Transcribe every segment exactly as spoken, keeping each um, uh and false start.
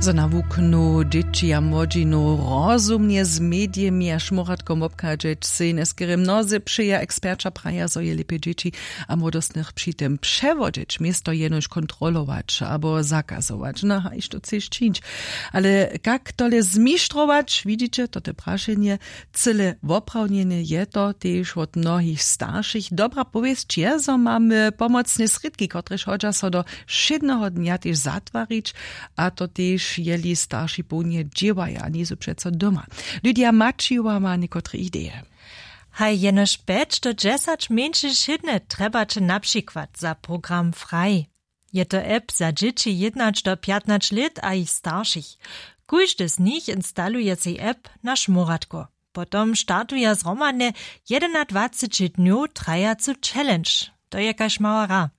Zo na wuknu dźěći a młodźinu rozumnje z medijemi a šmóratkom wobchadźeć sej njeskerje mnozy přeja. Eksperća praja, zo je lěpje dźěći a młodostnych při tym přewodźeć město jenož kontrolować abo zakazować, no a hišće chceš čińć. Ale kak tole zmištrować, widźiće to te prašenje. Cyle woprawnjene je to tež wot mnohich staršich. Dobra powěsć je, zo mamy pomocne srědki, kotrež hodźa so do wšědneho dnja tež zatwarić, a to tež jeli starši połnje dźěłaja, njejsu přeco doma. Lydia Maćijowa ma někotre ideje. Haj, jenož pjeć do dźesać mjeńšych wšědnje trjebaće na přikład za program Frei. Je to app za dźěći jědnać do pjatnać lět a jich staršich. Kóždy z nich instaluje sej app na šmóratko. Potom startuja zhromadnje jedenadwaceći dnjow trajacu challenge. To je kaž mała hra.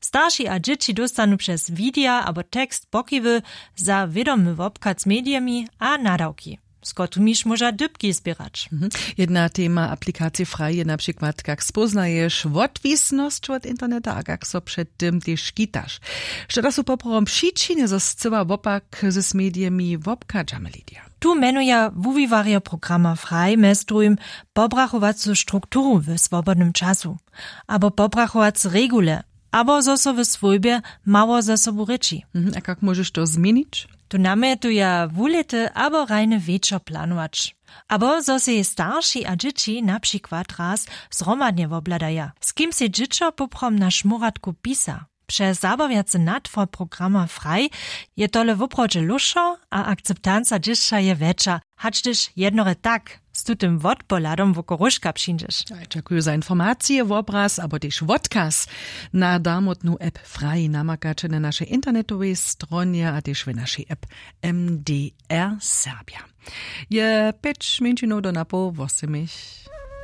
Starši a dźěći dóstanu přez widea abo tekst pokiwy za wědomy wobchad z medijemi a nadawki, z kotrymiž móža dypki zběrać. Jedna tema aplikacije Frei je na přikład, kak spóznaješ wotwisnosć wot interneta a kak so před tym tež škitaš. Što da su poprawom přičiny, zo scyła wopak z medijemi wobchadźamy, Lydia? Tu mjenuja wuwiwarjo programa Frei mjez druhim pobrachowacu strukturu w swobodnym času abo pobrachowace regule, abo zo so w swójbje mało ze sobu rěči. A kak móžeš to změnić? Tu namjetuja wulěty abo rajny wječor planować, abo zo sej starši a dźěći na přikład raz zhromadnje wobhladaja, z kim sej dźěćo poprawom na šmóratku pisa. Přez zabawjacy natwar programa Frei je tole woprawdźe lóšo a akceptanca dźěsća je wjetša, hač hdyž jednorje tak z tutym wotpohladom wokoruška přińdźeš. Dźakuju za informacije. Wobraz abo tež wotkaz na darmotnu app Frei namakaće na našej internetowej stronje a tež w našej app. M D R Serbia je pjeć mjeńšinow do napoł wosymich.